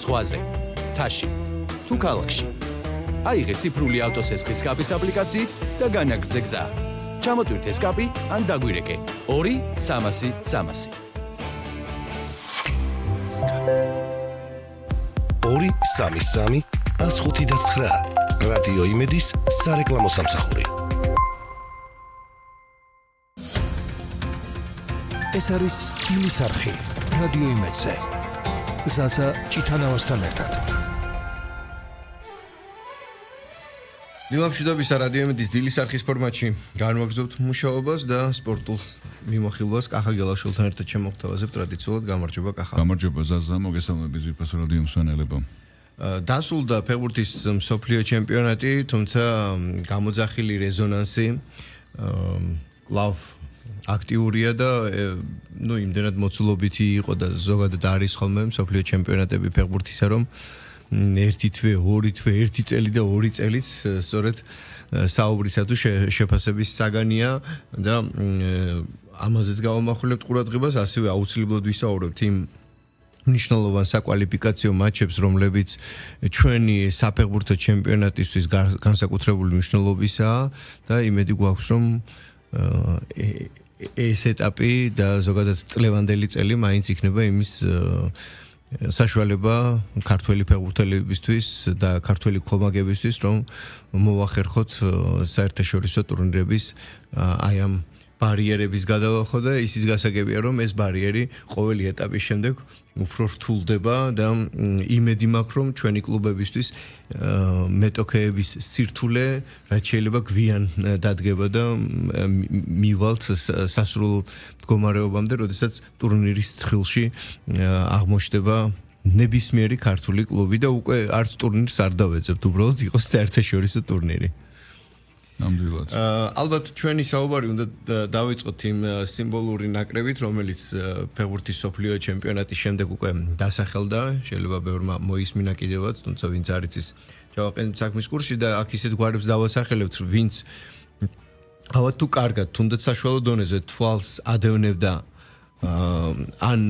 ზღვაზე, მთაში, თუ ქალაქში. აიღე ციფრული ავტოსესხის სკაპის აპლიკაციით და განაგრძე გზა. ჩამოტვირთე სკაპი ან დაგვირეკე 2-300-300. 2-3-3-159 რადიო იმედის სარეკლამო სამსახური. ეს არის დილის არხი რადიო იმედზე. ზაზა ჭიტანავასთან ერთად. დილამშვიდობის რადიო იმედის დილის არხის ფორმატში განვაგრძობთ მუშაობას და სპორტულ მიმოხილვას კახა გელაშვილთან ერთად შემოგთავაზებთ ტრადიციულად. გამარჯობა კახა. გამარჯობა ზაზა, მოგესალმებით ძვირფასო რადიო მსმენელებო. დასრულდა ფეხბურთის მსოფლიო ჩემპიონატი, თუმცა გამოძახილი რეზონანსი კლავ აქტიურია და იმდენად მოცულობითი იყო და ზოგადად არის ხოლმე მსოფლიო ჩემპიონატები ფეხბურთისა, რომ ერთი თვე, ორი თვე, ერთი წელი და ორი წელიც სწორედ საუბრისა თუ შეფასების საგანია და ამაზეც გავამახვილებთ ყურადღებას, ასევე აუცილებლად ვისაუბრებთ იმ მნიშვნელოვან საკვალიფიკაციო მატჩებს, რომლებიც ჩვენი საფეხბურთო ჩემპიონატისთვის განსაკუთრებული მნიშვნელობისაა და იმედი გვაქვს, რომ ეს ეტაპი და ზოგადად წლევანდელი წელი მაინც იქნება იმის საშუალება ქართველი ფეხბურთელებისთვის და ქართველი ქომაგებისთვის, რომ მოვახერხოთ საერთაშორისო ტურნირების აი ამ ბარიერების გადალახვა და ისიც გასაგებია, რომ ეს ბარიერი ყოველი ეტაპის შემდეგ უფრო რთულდება და იმედი მაქვს, რომ ჩვენი კლუბებისთვის მეტოქეების სირთულე რაც შეიძლება გვიან დადგება და მივალთ სასრულ მდგომარეობამდე, როდესაც ტურნირის ცხრილში აღმოჩნდება ნებისმიერი ქართული კლუბი და უკვე არც ტურნირს არ დავეძებთ, უბრალოდ იყოს საერთაშორისო ტურნირი. ნამდვილად. ალბათ ჩვენი საუბარი უნდა დავიწყოთ იმ სიმბოლური ნაკრებით, რომელიც ფეხბურთის მსოფლიო ჩემპიონატის შემდეგ უკვე დასახელდა, შეიძლება ბევრმა მოისმინა კიდევაც, თუმცა ვინც არ იცის, ჩავაყენოთ საქმის კურსში და აქ ისეთ გვარებს დავასახელებთ, ვინც ალბათ თუ კარგად, თუნდაც საშუალო დონეზე თვალს ადევნებდა ან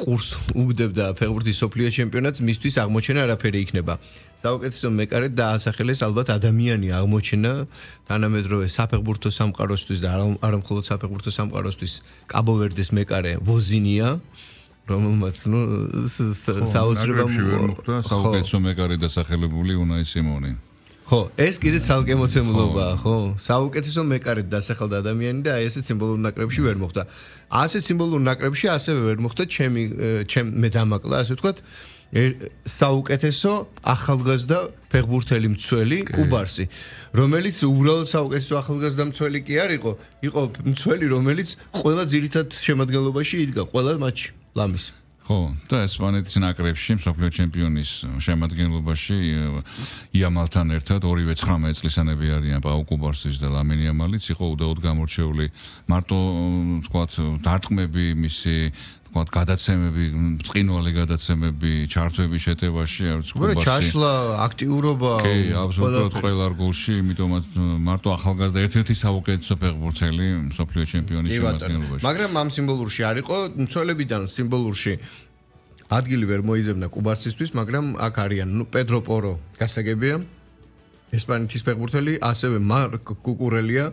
ყურს უგდებდა ფეხბურთის მსოფლიო ჩემპიონატს, მისთვის აღმოჩენა არაფერი იქნება. საუკეთესო მეკარედ დაასახელეს ალბათ ადამიანი აღმოჩენა თანამედროვე საფეხბურთო სამყაროსთვის და არა მხოლოდ საფეხბურთო სამყაროსთვის კაბო-ვერდეს მეკარე ვოზინია, რომელმაც საოცრება მოხდა საუკეთესო მეკარე დასახელებული უნაი სიმონი. ხო, ეს კიდე ცალკე მოცემულობაა, ხო? საუკეთესო მეკარედ დასახელდა ადამიანი და აი ესეთ სიმბოლურ ნაკრებში ვერ მოხდა. ასეთ სიმბოლურ ნაკრებში ასევე ვერ მოხდა მე დამაკლა, ასე ვთქვათ, საუკეთესო ახალგაზრდა ფეხბურთელი მცველი კუბარსი, რომელიც უბრალოდ საუკეთესო ახალგაზრდა მცველი კი არ იყო, იყო მცველი, რომელიც ყველა ძირითად შემადგენლობაში იდგა, ყველა მატჩი ლამის. ხო, და ესპანეთის ნაკრებში მსოფლიო ჩემპიონის შემადგენლობაში იამალთან ერთად ორივე 19 წლისანები არიან პაუ კუბარსის და ლამინ იამალიც, იყო უდაოდ გამორჩეული მარტო თქვათ დარტყმები მისი თქვათ გადაცემები, ბრწყინვალე გადაცემები, ჩართვები შეტევაში, არც კუბარსი. ჩაშლა, აქტიურობა, კი, აბსოლუტურად ყველა გოლში, იმიტომაც მარტო ახალგაზრდა ერთ-ერთი საუკეთესო ფეხბურთელი მსოფლიო ჩემპიონის შემადგენლობაში. მაგრამ ამ სიმბოლურში არ იყო, მცველებიდან სიმბოლურში ადგილი ვერ მოიძებნა კუბარსისთვის, მაგრამ აქ არიან, პედრო პორო გასაგებია, ესპანეთის ფეხბურთელი, ასევე მარკ კუკურელია,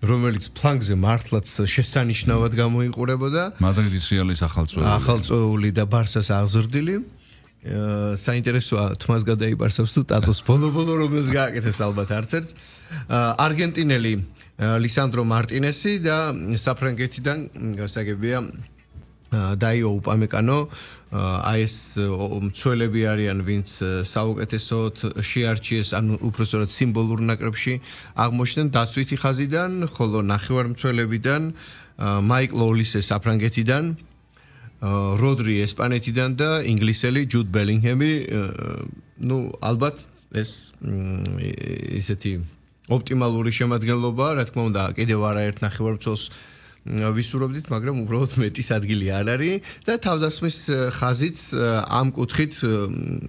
რომელიც ფლანგზე მართლაც შესანიშნავად გამოიყურებოდა. მადრიდის რეალის ახალწეული და ბარსას აღზრდილი. საინტერესოა თმას გადაიბარსებს თუ ტატოს ბოლო-ბოლო რომელს გააკეთებს ალბათ არც ერთს. არგენტინელი ლისანდრო მარტინესი და საფრანგეთიდან გასაგებია დაიო უპამეკანო. აი ეს მცველები არიან, ვინც საუკეთესოდ შეარჩიეს, ანუ უпроსტად სიმბოლურ ნაკრებში აღმოჩნდნენ დაცვითი ხაზიდან, ხოლო ნახევარმცველებიდან მაიკლ ოლისე საფრანგეთიდან, როდრი ესპანეთიდან და ინგლისელი ჯუდ ბელინგჰემი. ალბათ ეს ისეთი ოპტიმალური შემადგენლობაა, რა თქმა უნდა, კიდევ არაერთ ნახევარმცველს ვისურვებდით, მაგრამ უბრალოდ მეტის ადგილი არ არის და თავდასხმის ხაზიც ამ კუთხით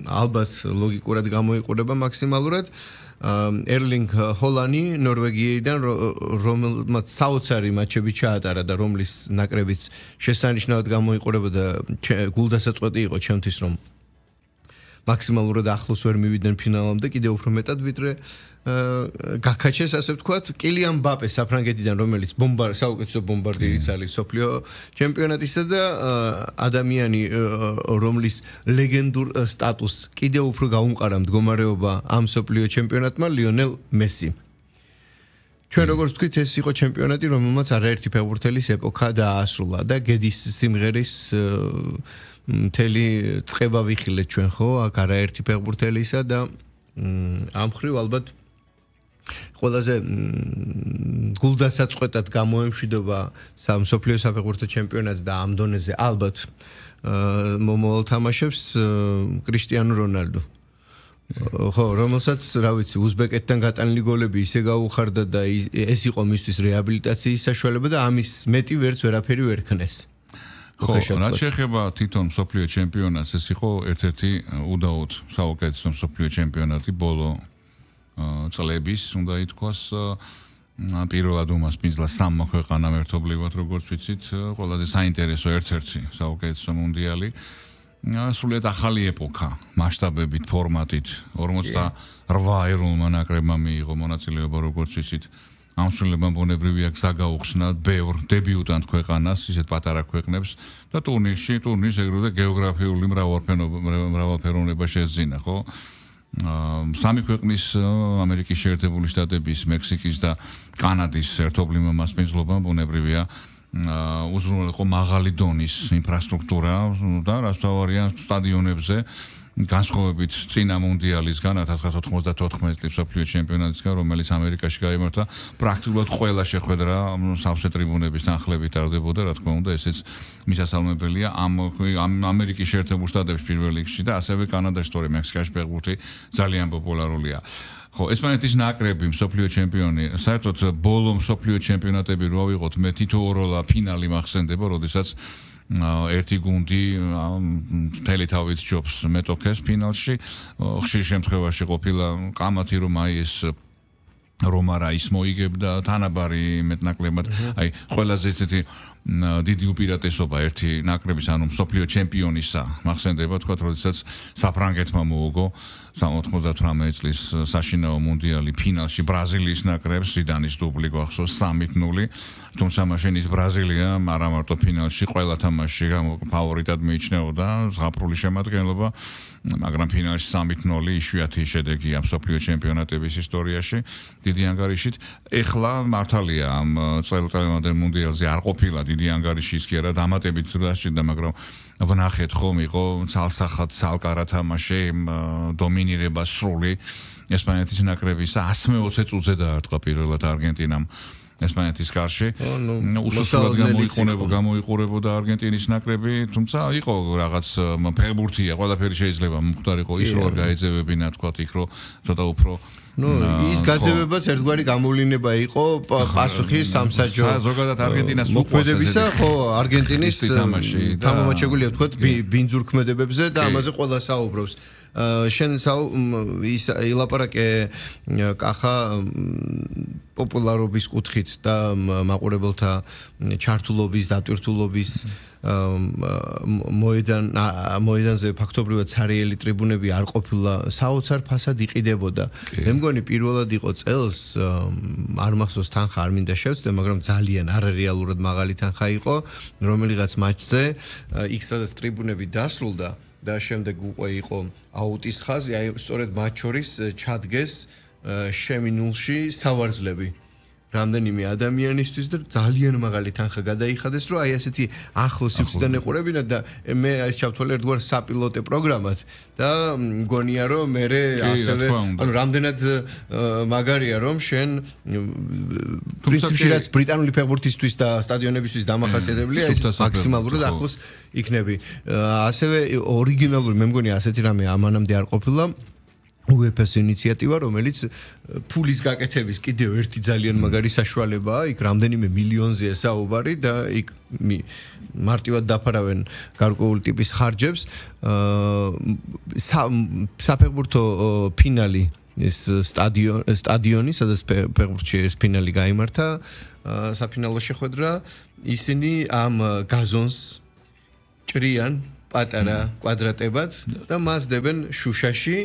ალბათ ლოგიკურად გამოიყურება მაქსიმალურად. ერლინგ ჰოლანი ნორვეგიიდან, რომელმაც საოცარი მატჩები ჩაატარა და რომლის ნაკრებიც შესანიშნავად გამოიყურება და გულდასაწყვეტი იყო ჩემთვის, რომ მაქსიმალურად ახლოს ვერ მივიდნენ ფინალამდე, კიდევ უფრო მეტად ვიდრე გაქაჩეს, ასე ვთქვათ, კილიან მბაპე საფრანგეთიდან, რომელიც საუკეთესო ბომბარდირიც არის სოფლიო ჩემპიონატისა და ადამიანი, რომლის ლეგენდურ სტატუსს კიდევ უფრო გაუმყარა მდგომარეობა ამ სოფლიო ჩემპიონატმა, ლიონელ მესი. ჩვენ როგორც ვთქვით, ეს იყო ჩემპიონატი, რომელმაც არაერთი ფეხბურთელის ეპოქა დაასრულა და გედის სიმღერის მთელი წყება ვიხილეთ ჩვენ, ხო, აქ არაერთი ფეხბურთელისა და ამ ხრივ ალბათ ყველაზე გულდასაწყვეტად გამოემშვიდობა მსოფლიო საფეხბურთო ჩემპიონატს და ამ დონეზე ალბათ მომავალ თამაშებს კრისტიანო რონალდო. ხო, რომელსაც, რა ვიცი, უზბეკეთთან გატანილი გოლები ისე გაუხარდა და ეს იყო მისთვის რეაბილიტაციის საშუალება და ამის მეტი ვერაფერი ვერ ქნეს. ხო, რაც შეეხება თვითონ მსოფლიო ჩემპიონატს, ეს იყო ერთ-ერთი უდაოდ საუკეთესო მსოფლიო ჩემპიონატი ბოლო წლების, უნდა ითქვას, პირველად უმასპინძლა სამმა ქვეყანამ ერთობლივად, როგორც ვიცით, ყველაზე საინტერესო ერთ-ერთი საუკეთესო მუნდიალი. სრულიად ახალი ეპოქა, მასშტაბებით, ფორმატით, 48 ეროვნულმა ნაკრებმა მიიღო მონაწილეობა, როგორც ვიცით. ამ სრულებამ ბუნებრივია გზა გაუხსნა ბევრ დებიუტანტ ქვეყანას, ისეთ პატარა ქვეყნებს და ტურნირს ეგრევე გეოგრაფიული მრავალფეროვნება შეძინა, ხო? სამი ქვეყნის ამერიკის შეერთებული შტატების, მექსიკის და კანადის ერთობლივმა მასპინძლობამ ბუნებრივია უზრუნველყო მაღალი დონის ინფრასტრუქტურა და რაც თავარია სტადიონებზე განსხვავებით წინა მუნდიალისგან 1994 წლის მსოფლიო ჩემპიონატისგან, რომელიც ამერიკაში გაიმართა, პრაქტიკულად ყველა შეხვედრა სავსე ტრიბუნების თანხლებით ტარდებოდა, რა თქმა უნდა, ესეც მისასალმებელია ამ ამერიკის შეერთებულ შტატებში პირველ რიგში და ასევე კანადაში, თორე მექსიკაში ფეხბურთი ძალიან პოპულარულია. ხო, ესპანეთის ნაკრები მსოფლიო ჩემპიონი, საერთოდ ბოლო მსოფლიო ჩემპიონატები რო ავიღოთ, მე თითოეულა ფინალი მახსენდება, როდესაც ერთი გუნდი მთელი თავით ჯობს მეტოქეს ფინალში, ხშირ შემთხვევაში ყოფილა კამათი, რომ აი ეს რომა რაის მოიგებდა თანაბარი მეტნაკლებად, აი ყველაზე ესეთი დიდი უპირატესობა ერთი ნაკრების, ანუ მსოფლიო ჩემპიონისა მახსენდება, თქვა, როდესაც საფრანგეთმა მოუგო 98 წლის საშინაო მუნდიალი ფინალში ბრაზილიის ნაკრებს, ზიდანის დუბლი გვახსოვს 3-0, თუმცა მაშინ ის ბრაზილია არა მარტო ფინალში, ყველა თამაშში ფავორიტად მიიჩნეოდა, ზღაპრული შემადგენლობა, მაგრამ ფინალში 3-0 იშვიათი შედეგია მსოფლიო ჩემპიონატების ისტორიაში, დიდი ანგარიშით. ეხლა მართალია ამ წელიწადამდელ მუნდიალზე არ ყოფილა დიდი ანგარიში, ის კი არა დამატებით დასჭირდა, მაგრამ ვნახეთ ხომ იყო ცალსახად ცალკარა თამაში, დომინირება სრული ესპანეთის ნაკრების 120 წუთზე დაარტყა პირველად არგენტინამ ესპანეთის კარში. უსუსტად გამოიყურებოდა არგენტინის ნაკრები, თუმცა იყო რაღაც ფეხბურთია, ყველაფერი შეიძლება მომხდარიყო ის რო არ გაეძევებინა, თქვა იქ რო ცოტა უფრო ის გაძევებაც ერთგვარი გამოვლინება იყო პასუხი სამსაჯო ზოგადად არგენტინას მოქმედებისა, ხო, არგენტინის თამამაჩებულია, თქვა, ბინძურ ქმედებებზე და ამაზე ყველა საუბრობს. შენ ის ილაპარაკე კახა პოპულარობის კუთხით და მაყურებელთა ჩართულობის, დატვირთულობის მოედანზე ფაქტობრივად ცარიელი ტრიბუნები არ ყოფილა, საოცარ ფასად იყიდებოდა. მე მგონი პირველად იყო წელს, არ მახსოვს თანხა არ მინდა შევცდე, მაგრამ ძალიან არარეალურად მაღალი თანხა იყო, რომელიღაც მატჩზე, იქ სადაც ტრიბუნები დასრულდა და შემდეგ უკვე იყო აუტის ხაზი, აი სწორედ მათ შორის ჩადგეს შემინულში სავარძლები რამდენიმე ადამიანისთვის და ძალიან მაღალი თანხა გადაიხადეს, რომ აი ასეთი ახლოს სივრციდან ეყურებინათ და მე ეს ჩავთვალე ერთგვარ საპილოტე პროგრამად და მგონია რომ მე ასევე ანუ რამდენად მაგარია რომ შენ პრინციპში რაც ბრიტანული ფეხბურთისთვის და სტადიონებისთვის დამახასიათებელია ის მაქსიმალურად ახლოს იქნები. ასევე ორიგინალური მე მგონია ასეთი რამე ამანამდე არ ყოფილა UEFA-ს ინიციატივა, რომელიც ფულის გაკეთების კიდევ ერთი ძალიან მაგარი საშუალებაა, იქ რამდენიმე მილიონზეა საუბარი და იქ მარტივად დაფარავენ გარკვეული ტიპის ხარჯებს. საფეხბურთო ფინალი ეს სტადიონი, სადაც ფეხბურთში ეს ფინალი გაიმართა, საფინალო შეხვედრა, ისინი ამ გაზონს ჭრიან პატარა კვადრატებად და მას დებენ შუშაში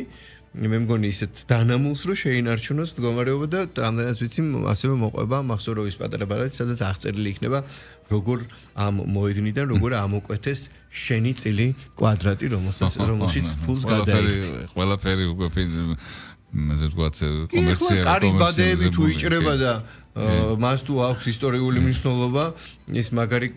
მე მგონი ისეთ დანამულს რომ შეინარჩუნოს მდგომარეობა და რამდენიც ვიცი ასევე მოყვება მახსოვროვის პატარა ბარათი სადაც აღწერილი იქნება როგორ ამ მოედნიდან როგორ ამოკვეთეს შენი წილი კვადრატი რომელშიც ფულს გადაიხდი ყველაფერი უკვე მე ვთქვათ კომერციალი კარის ბადეები თუ იჭრება და მას თუ აქვს ისტორიული მნიშვნელობა ის მაგარი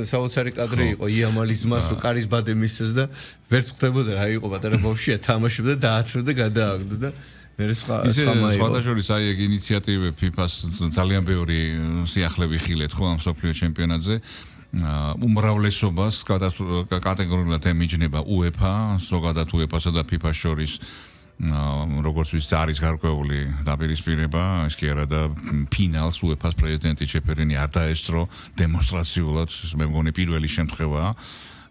საოცარი კადრი იყო იამალის მას კარის ბადე მისცეს და ვერც ხვდებოდა რა იყო პატარა ბავშვია თამაშობდა დააცრა და გადააგდო და მე სხვა მაიყო სხვადასხვა აი ეგ ინიციატივები FIFA-ს ძალიან ბევრი სიახლე ვიხილეთ ხო ამ სოფლიო ჩემპიონატზე უმრავლესობას კატეგორიულად ემიჯნება UEFA ზოგადად UEFA-სა და FIFA-ს შორის როგორც ვიცით არის გარკვეული დაპირისპირება ის კი არა და ფინალს UEFA-ს პრეზიდენტი ჩეფერინი არ დაესწრო დემონსტრაციულად მე მგონი პირველი შემთხვევაა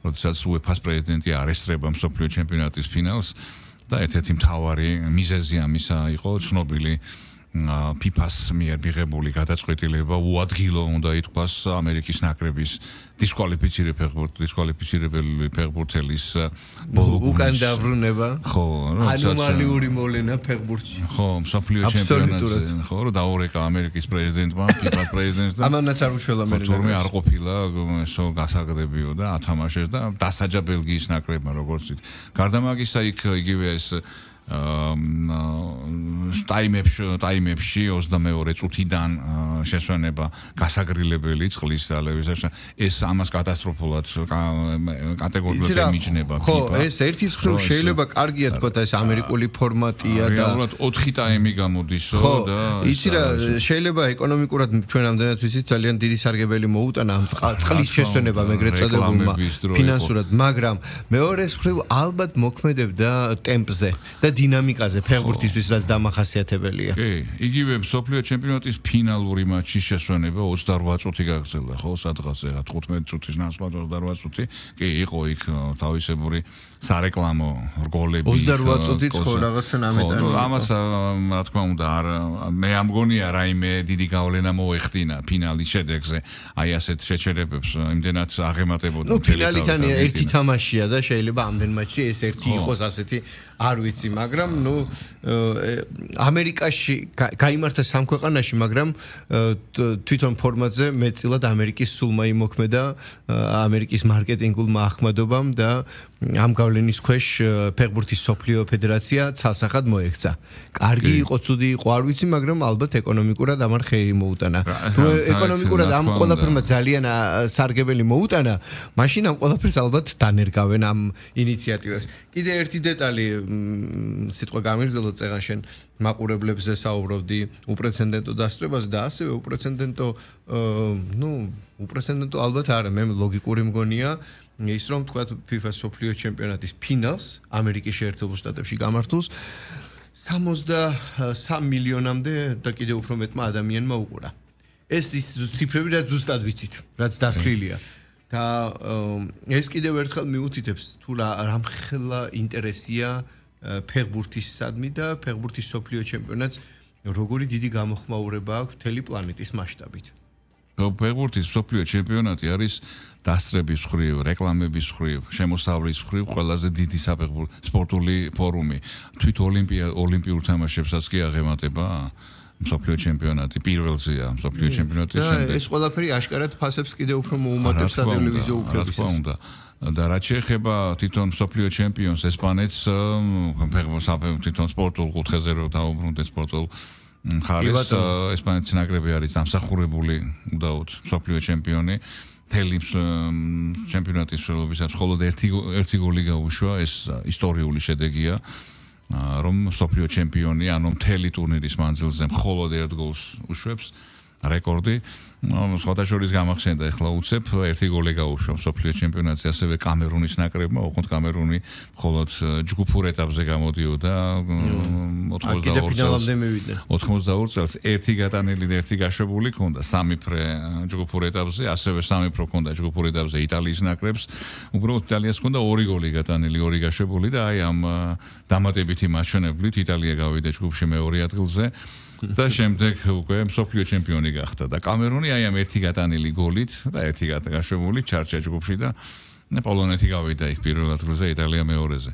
როდესაც UEFA-ს პრეზიდენტი არ ესწრება მსოფლიო ჩემპიონატის ფინალს და ერთ-ერთი მთავარი მიზეზი ამისა იყო ცნობილი FIFA-ს მიერ მიღებული გადაწყვეტილება უადგილო უნდა ითქვას ამერიკის ნაკრების დისკვალიფიცირებელი ფეხბურთელის ბოლო უკან დაბრუნება ხო ანომალიური მოლენა ფეხბურთში ხო მსოფლიო ჩემპიონატზე ხო რომ დაურეკა ამერიკის პრეზიდენტმა FIFA-ს პრეზიდენტს და ამანაც არ უშველა მე თორმე არ ყოფილა ესო გასაგდებიო და ათამაშეს და დასაჯა ბელგიის ნაკრებმა როგორც ვთქვით გარდა მაგისა იქ იგივე ეს ტაიმებში 22 წუთიდან შესვენება გასაგრილებელი წყლის ძალების ეს ამას კატასტროფულად კატეგორიულად ემიჯნება ხო ეს ერთი მხრივ შეიძლება კარგია თქო ეს ამერიკული ფორმატია და რეალურად 4 ტაიმი გამოდისო და იცი რა შეიძლება ეკონომიკურად ჩვენ ამდენად ვიცით ძალიან დიდი სარგებელი მოუტანა ამ წყლის შესვენება ეგრეთ წოდებულმა ფინანსურად მაგრამ მეორე მხრივ ალბათ მოქმედებდა ტემპზე და დინამიკაზე ფეხბურთისთვის რაც დამახასიათებელია. კი, იგივე მსოფლიო ჩემპიონატის ფინალური მატჩის შესვენება 28 წუთი გაგრძელდა, ხო, სადღაც 15 წუთის ნაცვლად 28 წუთი. კი, იყო იქ თავისებური სარეკლამო რგოლები. 28 წუთით ხო რაღაცა ნამეტანი. ამას რა თქმა უნდა არ მე ამგონია რაიმე დიდი გავლენა მოეხდინა ფინალის შედეგზე. აი ასეთ შეჩერებებს იმდენად აღემატებოდა ფინალიდან ერთი თამაშია და შეიძლება ამდენ მატჩში ეს ერთი იყოს ასეთი არ ვიცი, მაგრამ ნუ ამერიკაში გაიმართა სამ ქვეყანაში, მაგრამ თვითონ ფორმატზე მეტწილად ამერიკის სულმა იმოქმედა ამერიკის მარკეტინგულმა ახმადობამ და ამ გავლენის ქვეშ ფეხბურთის სოფლიო ფედერაცია ცალსახად მოექცა. კარგი იყო, ცუდი იყო, არ ვიცი, მაგრამ ალბათ ეკონომიკურად ამან ხელი მოუტანა. თუ ეკონომიკურად ამ ყველაფერმა ძალიან სარგებელი მოუტანა, მაშინ ამ ყველაფერს ალბათ დანერგავენ ამ ინიციატივას. კიდე ერთი დეტალი სიტყვა გამიგზელოთ წეგან შენ მაყურებლებზე საუბრობდი უპრეცედენტო დასწრებას და ასევე უპრეცედენტო ალბათ არა, მე ლოგიკური მგონია ის რომ თქვა FIFA სოფლიო ჩემპიონატის ფინალს ამერიკის შეერთებულ შტატებში გამართულს 63 მილიონამდე და კიდევ უფრო მეტმა ადამიანმა უყურა. ეს ის ციფრები რაც ზუსტად ვიცით, რაც დათვლილია. და ეს კიდევ ერთხელ მიუთითებს თუ რამხელა ინტერესია ფეხბურთისადმი და ფეხბურთის სოფლიო ჩემპიონატს როგორი დიდი გამოხმაურება აქვს მთელი პლანეტის მასშტაბით. ფეხბურთის სოფლიო ჩემპიონატი არის დასწრების მხრივ, რეკლამების მხრივ, შემოსავლის მხრივ ყველაზე დიდი საფეხბურთო სპორტული ფორუმი. თვით ოლიმპიურ თამაშებსაც კი აღემატება მსოფლიო ჩემპიონატი პირველზეა მსოფლიო ჩემპიონატის შემდეგ. ეს ყველაფერი აშკარად ფასებს კიდევ უფრო მოუმატებს სატელევიზიო უფლებისას. და რაც შეეხება თვითონ მსოფლიო ჩემპიონს ესპანეთს თვითონ სპორტულ კუთხეზე რო დაუბრუნდეთ სპორტულ ხარეს ესპანეთის ნაკრები არის დამსახურებული უდაოდ მსოფლიო ჩემპიონი მთელი ჩემპიონატის მსვლელობისას მხოლოდ ერთი გოლი გაუშვა ეს ისტორიული შედეგია რომ მსოფლიო ჩემპიონი ანუ მთელი ტურნირის მანძილზე მხოლოდ ერთ გოლს უშვებს რეკორდი სხვადასხვა გამახსენდა ეხლა უცებ ერთი გოლი გაუშვა მსოფლიო ჩემპიონატზე ასევე კამერუნის ნაკრებმა ოღონდ კამერუნი მხოლოდ ჯგუფურ ეტაპზე გამოდიოდა 82 წელს ერთი გატანილი და ერთი გაშვებული ჰქონდა სამი ფრე ჯგუფურ ეტაპზე ასევე სამი ფრო ჰქონდა ჯგუფურ ეტაპზე იტალიის ნაკრებს უბრალოდ იტალიას ჰქონდა ორი გოლი გატანილი ორი გაშვებული და აი ამ დამატებითი მაჩვენებლით იტალია გავიდა ჯგუფში მეორე ადგილზე და შემდეგ უკვე მსოფლიო ჩემპიონი გახდა და კამერუნი აი ამ ერთი გატანილი გოლით და ერთი გაშვებული ჩარჩა ჯგუფში და პოლონეთი გავიდა იქ პირველ ადგილზე, იტალია მეორეზე.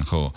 ხო,